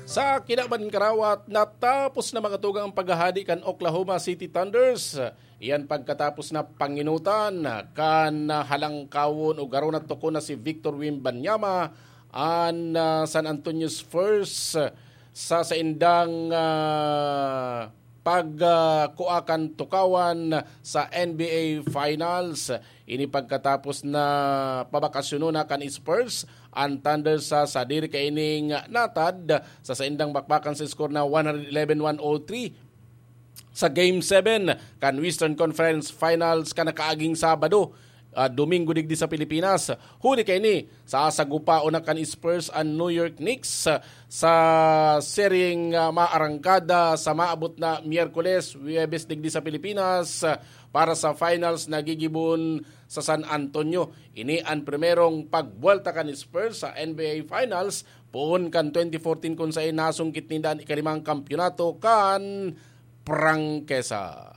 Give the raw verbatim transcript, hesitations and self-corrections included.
Sa kinaban karawat, natapos na mga tugang ang paghahadi kan Oklahoma City Thunders. Iyan pagkatapos na panginutan kan halangkawon o garo na toko na si Victor Wembanyama, an ah, San Antonio Spurs sa saindang ah, pagkua kan tukawan sa N B A Finals. Ini pagkatapos na pabakasyonon na kan Spurs, an Thunder sa sadiri kaining natad sa saindang bakbakan sa score na one eleven one oh three sa Game seven kan Western Conference Finals kan nakaaging Sabado, ah, Domingo digdi sa Pilipinas. Huli kaini, sasagupaon na kan Spurs an New York Knicks sa seryeng ah, maarangkada sa maabot na Miyerkules, Huwebes digdi sa Pilipinas, ah, para sa finals na gigibon sa San Antonio. Ini an primerong pagbuwelta kan Spurs sa N B A Finals poon kan twenty fourteen, kun saen nasungkit ninda an ikalimang kampiyonato kan prangkesa.